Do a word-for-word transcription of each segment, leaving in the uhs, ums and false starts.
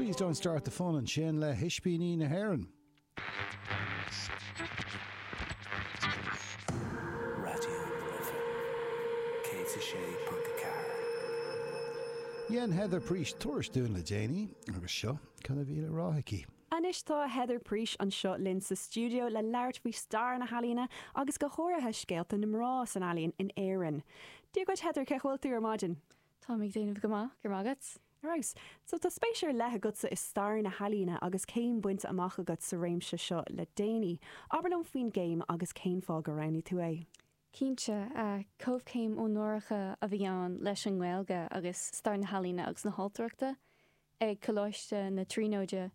Please don't start the fun ansin le hIspíní na hÉireann. Raidió na Life céad a sé ponc a ceathair. Dhein Heather Priest tuairisc dúinn le déanaí agus seo cad a bhí le rá aici. Anois tá Heather Priest anseo linn sa stiúideo le labhairt faoi stair na healaíne agus go háirithe scéalta na mná san ealaín in Éirinn. Dia dhuit Heather cén chaoi a bhfuil tú ar maidin. Táim ag déanamh go maith go raibh maith agat? Right. So tá spéis ar leith agatsa i stair na healaíne agus céim bainte amach agat sa réimse seo le déanaí. Abair liom faoin gcéim agus cén fáth gur roghnaigh tú é. Cinnte, comhchéim onóracha a bhí ann leis an nGaeilge agus stair na healaíne agus na hailtireachta ag Coláiste na Tríonóide.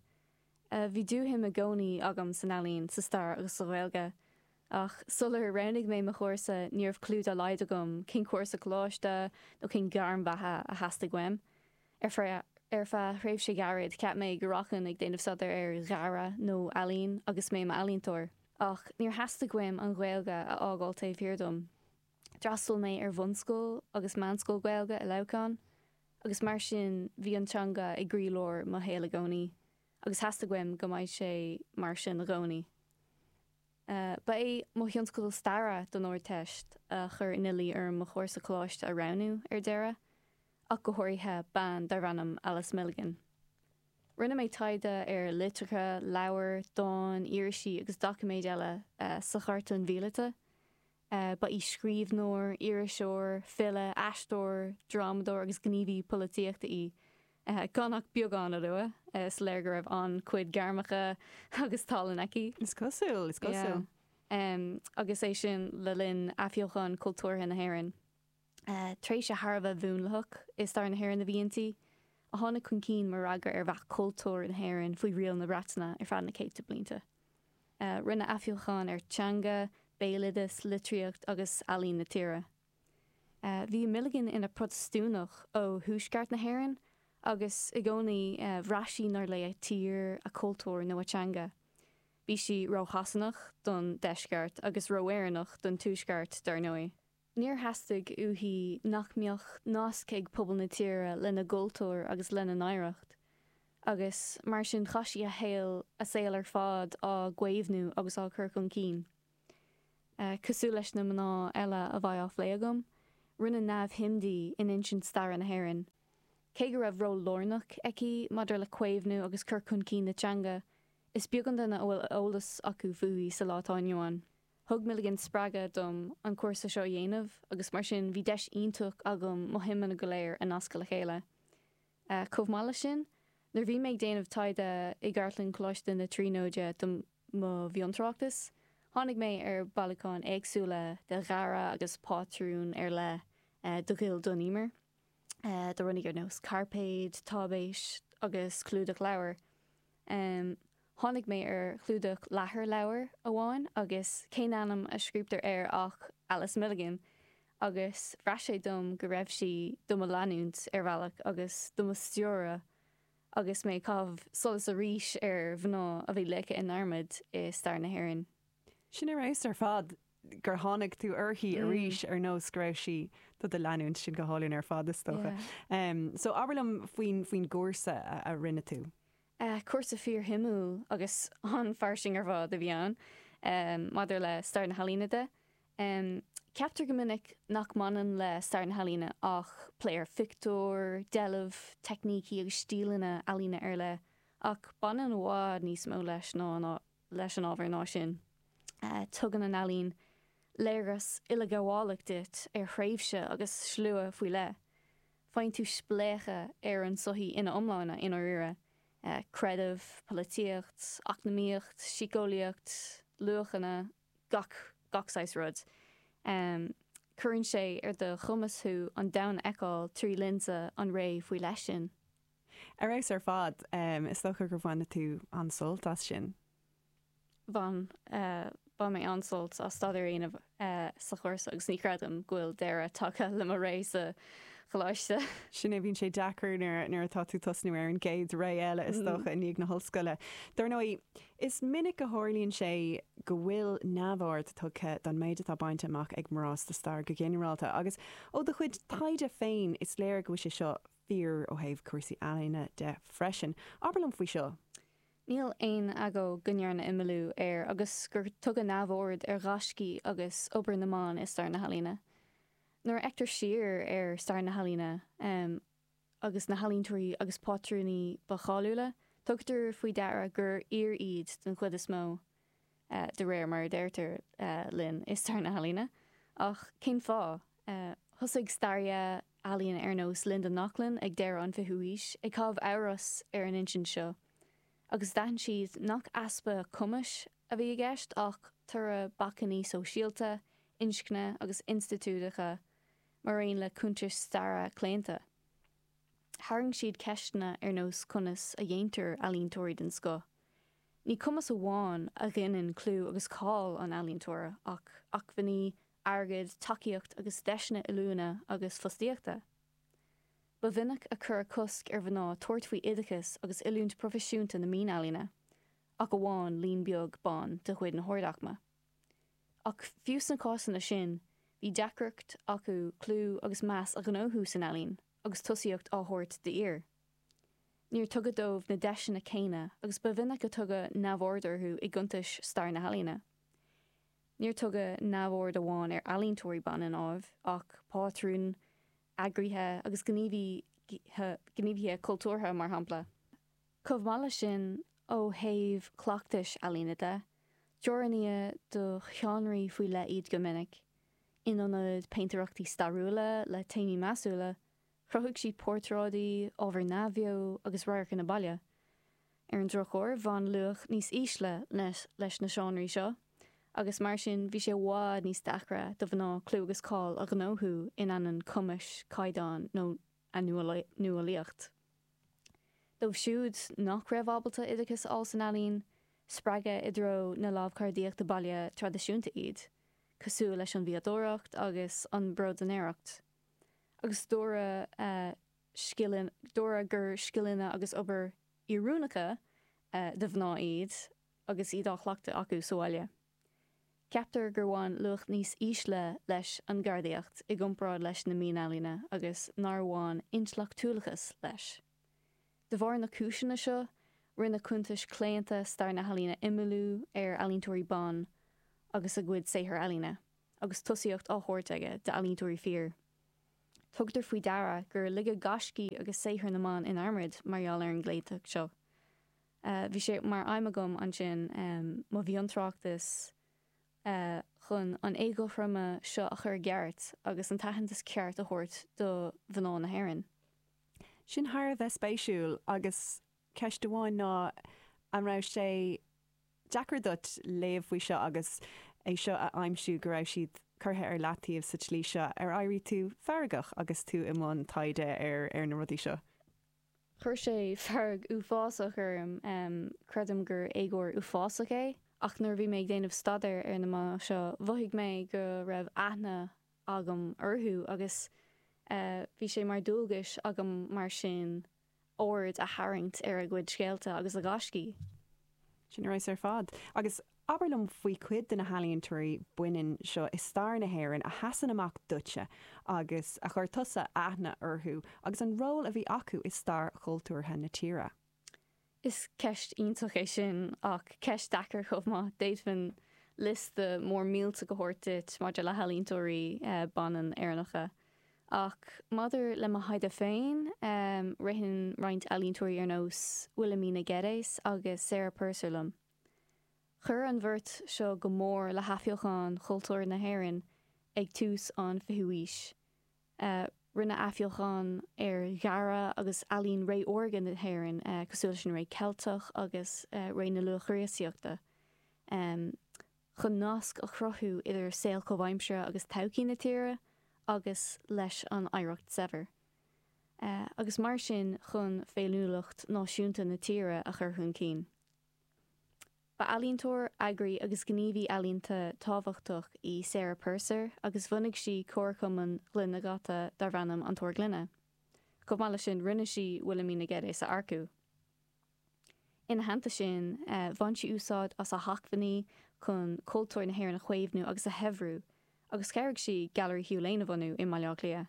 Bhí dúshuim i gcónaí agam san ealaín, sa stair agus sa Ghaeilge. Ach sular roghnaigh mé mo chúrsa ní raibh clue dá laghad agam cén cúrsa coláiste nó cén gairm bheatha a theastaigh uaim. Ar feadh ar feadh thréimhse ghairid cheap mé go rachainn ag déanamh staidéar ar dhearadh nó ealaín agus mé i m'ealaíontóir. Ach níor theastaigh uaim an Ghaeilge a fhágáil taobh thiar dom. D'fhreastail mé ar bhunscoil agus meánscoil Gaeilge i Leamhcán agus mar sin bhí an teanga i gcroílár mo shaoil i gcónaí agus theastaigh uaim go mbeidh sé mar sin i gcónaí. Ba é mo thionscadal staire don Ardteist a chuir ina luí orm mo chúrsa coláiste a roghnú ar deireadh, ach go háirithe bean darbh ainm Alice Milligan. Rinne mé taighde ar litreacha, leabhair, dáin, irisí agus doiciméid eile sa chartlann mhíleata. Ba í scríbhneoir, iriseoir, file, aisteoir, drámadóir agus gníomhaí polaitíochta í. Gan ach beagán a lua, is léir go raibh an-chuid gairmeacha agus tallann aici. Is cosúil, is cosúil. Yeah. Agus é sin le linn athbheochan cultúrtha na hÉireann. Tréimhse thar a bheith mhúnlaitheach i stair na hÉireann a bhí inti, a tháinig chun cinn mar fhreagra ar mheath cultúr na hÉireann faoi riail na Breataine ar feadh na céadta blianta. Rinneadh athbheochan ar teanga, béaloideas, litríocht agus ealaín na tíre. Bhí Milligan ina Protastúnach ó thuaisceart na hÉireann agus i gcónaí bhraith sí nár léi a tír, a cultúr nó a teanga. Bhí sí ró-Shasanach don deisceart agus ró-Éireannach don tuaisceart, dar ndóigh. Níor theastaigh uaithi nach mbeadh nasc ag pobal na tíre lena gcultúr agus lena n-oidhreacht, agus mar sin chaith sí a shaol a saol ar fad á gcaomhnú agus á cur chun cinn. Cosúil leis na mná eile a bheidh á phlé agam, rinneadh neamhshuim di in insint staire na hÉireann. Cé go raibh ról lárnach aici maidir le caomhnú agus cur chun cinn na teanga, is beag an duine a bhfuil eolas acu fúithi sa lá atá inniu ann. Thug Milligan spreagadh dom an cúrsa seo a dhéanamh agus mar sin bhí deis iontach agam mo shuimeanna go léir a nascadh le chéile. Chomh maith leis sin, nuair a bhí mé ag déanamh taighde i gcartlann Choláiste na Tríonóide do mo mhiontráchtas, tháinig mé ar bailiúcháin éagsúla de dhearadh agus pátrúin ar leith do Ghill Dún Emer, do rudaí ar nós cairpéid, táibéis agus clúdach leabhar. Tháinig mé ar chlúdach leathair leabhair amháin agus cén ainm a scríobhtar air ach Alice Milligan agus bhraith sé dom go raibh sí do mo leanúint ar bhealach agus do mo stiúradh agus mé ag caitheamh solas arís ar mhná a bhí ligthe i ndearmad i stair na hÉireann. Sin ar fheabhas ar fad gur tháinig tú uirthi arís ar nós go raibh sí do do leanúint sin go hálainn ar fad is dócha. So abair liom faoin faoin gcúrsa a rinne tú. Cúrsa fíorshuimiúil agus an-fhairsing ar fad a bhí ann maidir le stair na healaíne de. Ceaptar go minic nach mbaineann le stair na healaíne ach plé ar phictiúir, deilbh, teicnící agus stíleanna ealaíne ar leith, ach baineann i bhfad níos mó leis ná leis an ábhar ná sin. Tugann an ealaín léargas uileghabhálach duit ar thréimhse agus slua faoi leith. Faigheann tú spléachadh ar an tsochaí ina iomláine i ndáiríre, creideamh, polaitíocht, eacnamaíocht, síceolaíocht, luachanna, gach gach saghas rud. Cuireann sé ar do chumas thú an domhan a fheiceáil trí lionsa an ré faoi leith sin. Ar fheabhas ar fad, is dócha gur bhain tú an-sult as sin. Bhain. Bhain mé an-sult as staidéar a dhéanamh sa chúrsa agus ní chreidim go bhfuil deireadh tagtha le mo ré sa choláiste. Sin é, bíonn sé deacair nuair atá tú tosnú ar an gcéad ré eile is dócha i ndiaidh na hollscoile. Dar ndóigh, is minic a tharlaíonn sé go bhfuil neamhaird tugtha don méid atá bainte amach ag mná sa stair go ginearálta agus ó do chuid taighde féin is léir go bhfuil sé seo fir ó thaobh cúrsaí ealaíne de freisin. Abair liom faoi seo. Níl aon agó go ndearnadh imeallú ar agus gur tugadh neamhaird ar ghaiscí agus obair na mban i stair na healaíne. Nuair a fheictear siar ar stair na healaíne agus na healaíontóirí agus pátrúnaí ba cháiliúla, tugtar faoi deara gur fhir iad den chuid is mó, de réir mar a deirtear linn i stair na healaíne. Ach cén fáth? Thosaigh staraithe ealaíne ar nós Linda Nochlin ag deireadh an fichiú haois ag caitheamh amhras ar an insint seo, agus d'aithin siad nach easpa cumais a bhí i gceist ach toradh bacainní sóisialta, inscne agus institiúideacha, mar aon le cuntais staire claonta. Tharraing siad ceisteanna ar nós conas a dhéantar ealaíontóirí den scoth. Ní cumas amháin a ghineann clú agus cáil an ealaíontóra, ach acmhainní, airgead, tacaíocht agus deiseanna oiliúna agus fostaíochta. Ba mhinic a cuireadh cosc ar mhná tabhairt faoi oideachas agus oiliúint proifisiúnta na mínealaíne, ach amháin líon beag ban de chuid na hardaicme. Ach fiú sna cásanna sin, bhí deacracht acu clú agus meas a ghnóthú san ealaín, agus tosaíocht á thabhairt d'fhir. Níor tugadh dóibh na deiseanna céanna agus ba mhinic a tugadh neamhaird orthu i gcuntais stair na healaíne. Níor tugadh neamhaird amháin ar ealaíontóirí baineann, ámh, ach pátrúin, eagraithe agus gníomhaithe cultúrtha, mar shampla. Chomh maith leis sin, ó thaobh cleachtais ealaíne de, teorannaíodh do sheánraí faoi leith iad go minic. In ionad péintéireachtaí stairiúla le téamaí measúla, chruthaigh siad portráidí, ábhar neamhbheo agus radharcanna baile. Ar an drochuair, bhain luach níos ísle leis na seánraí seo, agus mar sin bhí sé i bhfad níos deacra do mhná clú agus cáil a ghnóthú in ainneoin cumais, caighdeán nó a nuálaíocht. Dóibh siúd nach raibh ábalta oideachas a fháil san ealaín, spreagadh i dtreo na lámhcheardaíochta baile traidisiúnta iad, cosúil leis an bhfíodóireacht agus an bhróidnéireacht, agus dúradh dúradh gur scileanna agus obair oiriúnacha do mhná iad agus iad á chleachtadh acu sa bhaile. Ceaptar gur bhain luach níos ísle leis an gceardaíocht i gcomparáid leis na mínealaíona agus nár bhain intleachtúlachas leis. De bharr na cúiseanna seo, rinne cuntais claonta stair na healaíne imeallú ar ealaíontóirí ban agus a gcuid saothar ealaíne, agus tosaíocht á thabhairt aige d'ealaíontóirí fir. Tugtar faoi deara gur ligeadh gaiscí agus saothar na mban i ndearmad mar gheall ar an gclaontacht seo. Bhí sé mar aidhm agam ansin mo mhiontráchtas chun an éagothroime seo a chur i gceart agus an t-aitheantas ceart a thabhairt do mhná na hÉireann. Sin thar a bheith spéisiúil agus ceist amháin ná an raibh sé deacair duit léamh faoi seo agus é seo a aimsiú go raibh siad curtha ar leataobh sa tslí seo, ar éirigh tú feargach agus tú i mbun taighde ar ar na rudaí seo? Chuir sé fearg uafásach orm, creidim gur éagóir uafásach é, ach nuair a bhí mé ag déanamh staidéir ar na mná seo, mhothaigh mé go raibh aithne agam orthu agus bhí sé mar dualgas agam mar sin aird a tharraingt ar a gcuid scéalta agus a gaiscí. Sin ar ar fad. Agus abair liom faoi chuid de na healaíontóirí baineann seo i stair na hÉireann a sheasann amach duitse agus a chuir tusa aithne orthu agus an ról a bhí acu i stair chultúrtha na tíre. Is ceist iontach é sin ach ceist deacair chomh maith. D'fhéadfainn liosta mór millteach a thabhairt duit maidir le healaíontóirí baineann Éireannacha. Ach maidir le mo thaighde féin, ritheann roinnt ealaíontóirí ar nós Wilhelmina Geddes agus Sarah Purser liom. Chuir an bheirt seo go mór le hathbheochan chultúr na hÉireann ag tús an fichiú haois. Rinneadh athbheochan ar dhearadh agus ealaín ré órga na hÉireann, cosúil leis an ré Ceilteach agus ré na Luath-Chríostaíochta, chun nasc a chruthú idir saol comhaimseartha agus todhchaí na tíre agus leis an oidhreacht saibhir, agus mar sin chun féiniúlacht náisiúnta na tíre a chur chun cinn. Ba ealaíontóir, eagraí agus gníomhaí ealaíonta tábhachtach í Sarah Purser agus bhunaigh sí comharchumann ghloine dhata darbh ainm An Túr Gloine. Chomh maith leis sin, rinne sí Wilhelmina Geddes a earcú. Ina theannta sin, bhain sí úsáid as a hacmhainní chun cultúr na hÉireann a chaomhnú agus a shaibhriú, agus chabhraigh sí Gailearaí Hugh Lane a bhunú i mBaile Átha Cliath.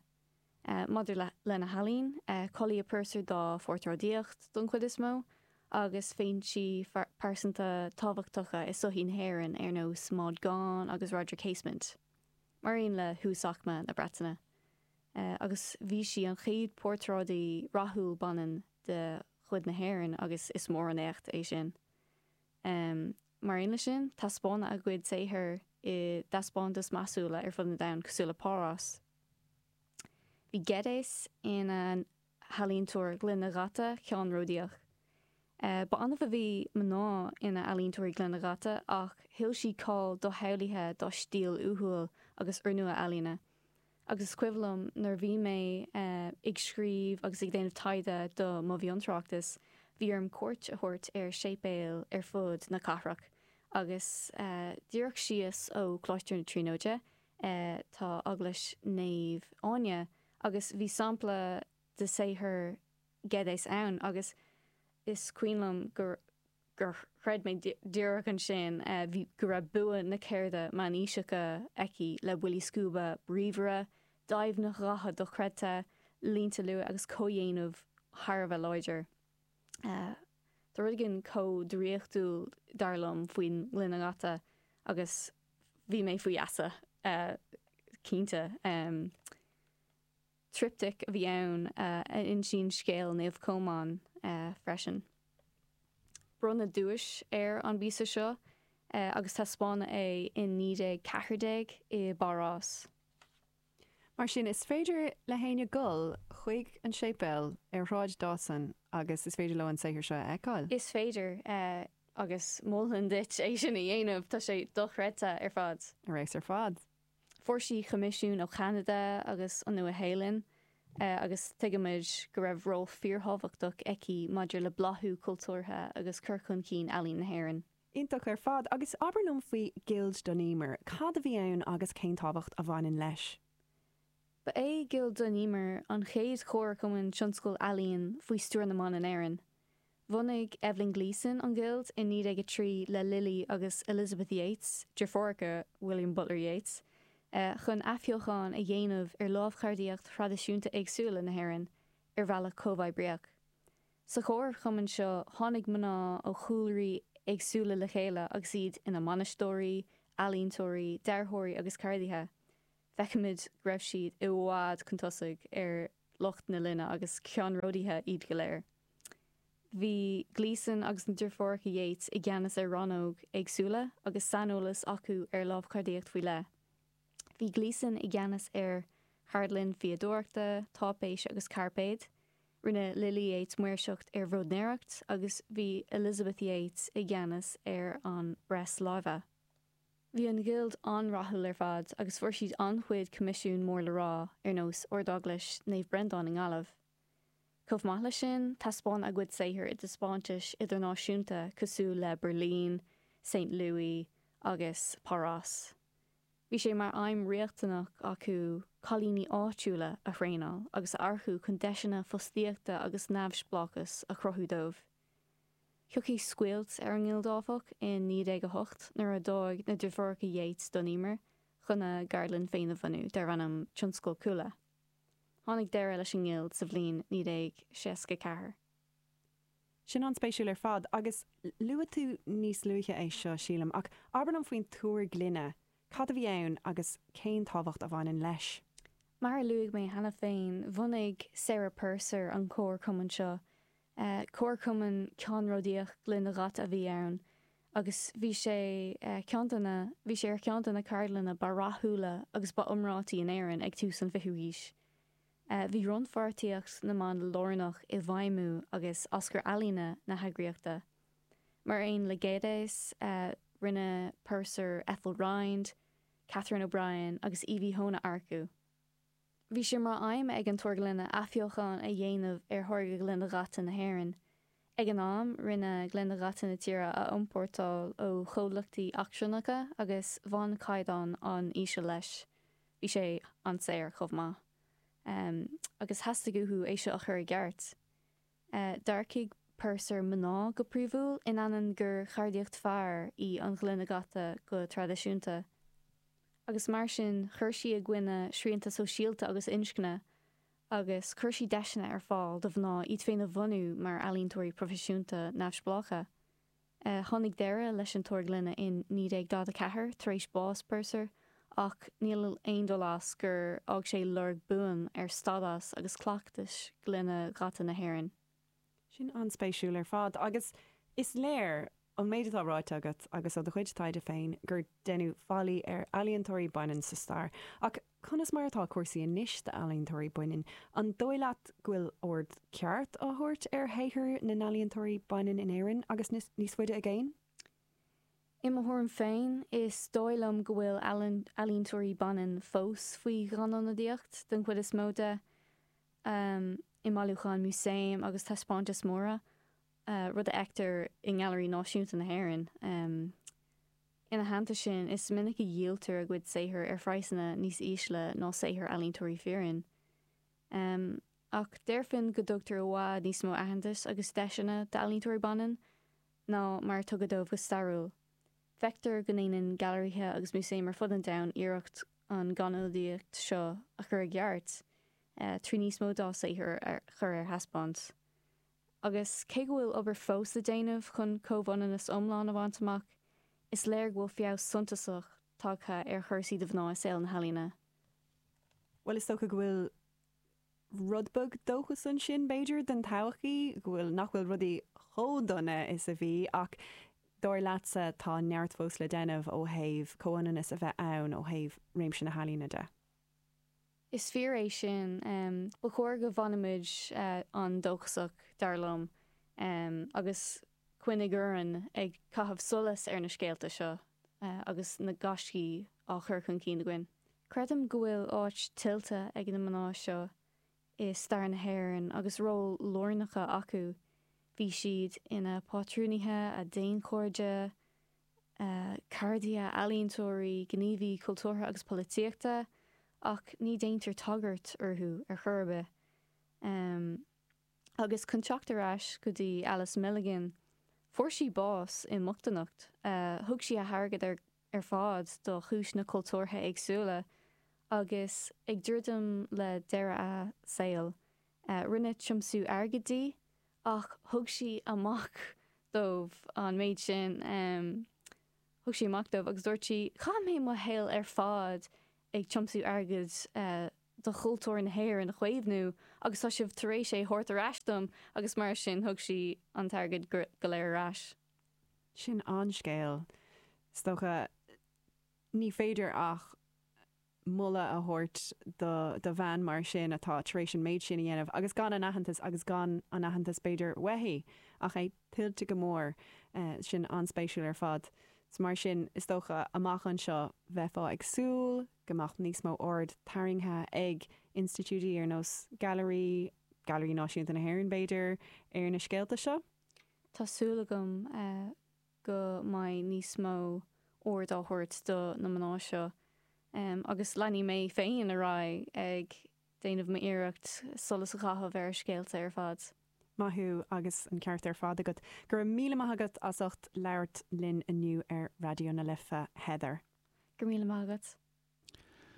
Maidir lena healaín, cáilíodh Purser dá phortráidíocht don chuid is mó, agus foinsí pearsanta tábhachtacha i sochaí na hÉireann ar nós Maud Gonne agus Roger Casement, mar aon le huasaicme na Breataine. Agus bhí sí an chéad portráidí rathúil baineann de chuid na hÉireann agus is mór an éacht é sin. Mar aon leis sin, taispeánadh a gcuid saothair i dtaispeántais measúla ar fud an domhain cosúil le Páras. Bhí Geddes ina healaíontóir gloine dhata ceannródaíoch. Ba annamh a bhí mná ina n-ealaíontóirí gloine dhata ach thuill sí cáil doshamhlaithe dá stíl uathúil agus úrnua ealaíne. Agus is cuimhin liom nuair a bhí mé ag scríobh agus ag déanamh taighde do mo mhiontráchtas, bhí orm cuairt a thabhairt ar séipéil ar fud na cathrach agus díreach síos ó Choláiste na Tríonóide tá Eaglais Naomh Áine agus bhí sampla de saothar Geddes ann agus is cuimhin liom gur gur chreid mé díreach ansin bhí go raibh bua na ceirde meánaoiseacha aici le buillí scuaibe bríomhara, doimhneacht dhatha dochreidte, línte luaidhe agus comhdhéanamh thar a bheith láidir. Tá rud éigin chomh draíochtúil dar liom faoin ngloine dhata agus bhí mé faoi gheasa cinnte. Triptic a bhí ann a insíonn scéal Naomh Colmán freisin. Bronnadh duais ar an bpíosa seo agus taispeánadh é in naoi déag ceathair déag i bPáras. Mar sin, is féidir le héinne dul chuig an séipéal ar Shráid Dawson agus is féidir leo an saothar seo a fheiceáil. Is féidir, agus mholfainn duit é sin a dhéanamh, tá sé dochreidte ar fad. Ar fheabhas ar fad. Fuair sí coimisiúin ó Cheanada agus an Nua-Shéalainn agus tuigimid go raibh ról fíorthábhachtach aici maidir le bláthú cultúrtha agus cur chun cinn ealaín na hÉireann. Iontach ar fad. Agus abair liom faoi Gild Dún Emer, cad a bhí ann agus cén tábhacht a bhaineann leis? Ba é Gild Dún Emer an chéad chomharchumann tionscal ealaíon faoi stiúir na mban in Éirinn. Bhunaigh Evelyn Gleeson an Gild in naoi déag a trí le Lily agus Elizabeth Yeats, deirfiúracha William Butler Yeats, chun athbheochan a dhéanamh ar lámhcheardaíocht thraidisiúnta éagsúla na hÉireann ar bhealach comhoibríoch. Sa chomharchumann seo tháinig mná ó chúlraí éagsúla le chéile agus iad ina mbainisteoirí, ealaíontóirí, dearthóirí agus ceardaithe. Feicimid go raibh siad i bhfad chun tosaigh ar lucht na linne agus ceannródaithe iad go léir. Bhí Gleeson agus na deirfiúracha Yeats i gceannas ar rannóg éagsúla agus saineolas acu ar lámhcheardaíocht faoi leith. Bhí Gleeson i gceannas ar cheardlann fíodóireachta, táipéis agus cairpéad. Rinne Lily Yeats maoirseacht ar bhróidnéireacht agus bhí Elizabeth Yeats i gceannas ar an bpreas láimhe. Bhí an Ghild an-rathúil ar fad agus fuair siad an-chuid coimisiún mór le rá ar nós Ard-Eaglais Naomh Breandán i nGaillimh. Chomh maith leis sin, taispeánadh a gcuid saothair i dtaispeántais idirnáisiúnta cosúil le Berlin, Saint Louis agus Páras. Bhí sé mar aidhm riachtanach acu cailíní áitiúla a thraenáil agus a earcú chun deiseanna fostaíochta agus neamhspleáchas a chruthú dóibh. Thiocfadh scoilt ar an nGild áfach in naoi déag a hocht nuair a d'fhág na deirfiúracha Yeats Dún Emer chun a gceardlann féin a bhunú darb ainm Tionscal Cuala. Tháinig deireadh leis an nGild sa bhliain naoi déag seasca ceathair. Sin an-spéisiúil ar fad, agus luaigh tú níos luaithe é seo, sílim, ach abair liom faoin túr gloine, cad a bhí ann agus cén tábhacht a bhaineann leis? Mar a luaigh mé cheana féin, bhunaigh Sarah Purser an comharchumann seo. Comharchumann ceannródaíoch gloine dhata a bhí ann agus bhí sé ceann de na, bhí sé ar cheann de na ceardlanna ba rathúla agus ba iomráití in Éirinn ag tús an fichiú haois. Bhí rannpháirtíocht na mban lárnach i bhfeidhmiú agus aschur ealaíne na heagraíochta. Mar aon le Geddes, rinne Purser Ethel Rhind, Catherine O'Brien agus Evie Hone a earcú. Bhí sé mar aidhm ag an Túr Gloine athbheochan a dhéanamh ar tháirgeadh gloine dhata na hÉireann. Ag an am, rinne gloine dhata na tíre a iompórtáil ó chomhlachtaí eachtrannacha agus bhain caighdeán an-íseal leis. Bhí sé an-saor chomh maith. Agus theastaigh uathu é seo a chur i gceart. D'earcaigh Purser mná go príomhúil in ainneoin gur cheardaíocht fear í an ghloine dhata go traidisiúnta. Agus mar sin, chuir sí i gcoinne srianta sóisialta agus inscne, agus chuir sí deiseanna ar fáil do mhná iad féin a bhunú mar ealaíontóirí proifisiúnta neamhspleácha. Tháinig deireadh leis an tuar gloine in naoi déag daichead a ceathair tar éis bás Purser, ach níl aon dul as gur fhág sé lorg buan ar stádas agus cleachtais gloine dhaite na hÉireann. Sin an-spéisiúil ar fad agus is léir ón méid atá ráite agat agus ó do chuid taighde féin gur deineadh faillí ar ealaíontóirí baineann sa stair. Ach conas mar atá cúrsaí anois d'ealaíontóirí baineann? An dóigh leat go bhfuil aird ceart á thabhairt ar shaothar na n-ealaíontóirí baineann in Éirinn agus níos faide i gcéin? I mo thuairim féin, is dóigh liom go bhfuil ealaíontóirí baineann fós faoi ghannionadaíocht den chuid is mó de i mbailiúcháin músaeim agus taispeántais mhóra, rud a fheictear i nGailearaí Náisiúnta na hÉireann. Ina theannta sin, is minic a dhíoltar a gcuid saothar ar phraghsanna níos ísle ná saothar ealaíontóirí fireann. Ach déarfainn go dtugtar i bhfad níos mó aitheantais agus deiseanna d'ealaíontóirí baineann ná mar a tugadh dóibh go stairiúil. Feictear go ndéanann gailearaithe agus músaeim ar fud an domhain iarracht an ghannionadaíocht seo a chur i gceart trí níos mó dá saothar a chur ar thaispeáint. Agus cé go bhfuil obair fós le déanamh chun comhionannas iomlán a bhaint amach, is léir go bhfuil feabhas suntasach tagtha ar chúrsaí do mhná i saol na healaíne. Bhuel, is dócha go bhfuil rud beag dóchas ansin, b'fhéidir, don todhchaí, go bhfuil, nach bhfuil rudaí chomh dona is a bhí, ach dar leatsa tá neart fós le déanamh ó thaobh comhionannas a bheith ann ó thaobh réimse na healaíne de. Is fíor é sin. Ba chóir go bhfanfaimid an-dóchasach, dar liom, agus coinnigh orainn ag caitheamh solais ar na scéalta seo agus na gaiscí á chur chun cinn againn. Creidim go bhfuil áit tuillte ag na mná seo i stair na hÉireann agus ról lárnacha acu. Bhí siad ina bpátrúnaithe, a ndaonchairde, ceardaithe, ealaíontóirí, gníomhaí cultúrtha agus polaitíochta, ach ní déantar tagairt orthu ar chor ar bith. Agus chun teacht ar ais go dtí Alice Milligan, fuair sí bás i mbochtaineacht. Thug sí a hairgead ar ar fad do chúiseanna cultúrtha éagsúla agus ag druidim le deireadh a saoil, rinneadh tiomsú airgid di ach thug sí amach dóibh an méid sin. Thug sí amach dóibh agus dúirt sí, 'Chaith mé mo shaol ar fad ag tiomsú airgid do chultúr na hÉireann a chaomhnú agus tá sibh tar éis é a thabhairt ar ais dom' agus mar sin thug sí an t-airgead go léir ar ais. Sin an-scéal. Is dócha, ní féidir ach moladh a thabhairt do do bhean mar sin atá tar éis an méid sin a dhéanamh agus gan an aitheantas agus gan an aitheantas b'fhéidir uaithi ach é tuillte go mór. Sin an-spéisiúil ar fad. So mar sin, is dócha, amach anseo bheifeá ag súil go mbeadh níos mó aird tarraingthe ag institiúidí ar nós Gailearaí, Gailearaí Náisiúnta na hÉireann b'fhéidir, ar na scéalta seo? Tá súil agam go mbeidh níos mó aird á thabhairt do na mná seo agus leanfaidh mé féin ar aghaidh ag déanamh m'iarracht solas a chaitheamh ar a scéalta ar fad. Maith thú agus an ceart ar fad agat. Go raibh míle maith agat as ucht labhairt linn inniu ar Raidió na Life, Heather. Go raibh míle maith agat.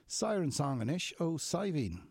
Siren Song anois ó Saidhbhín.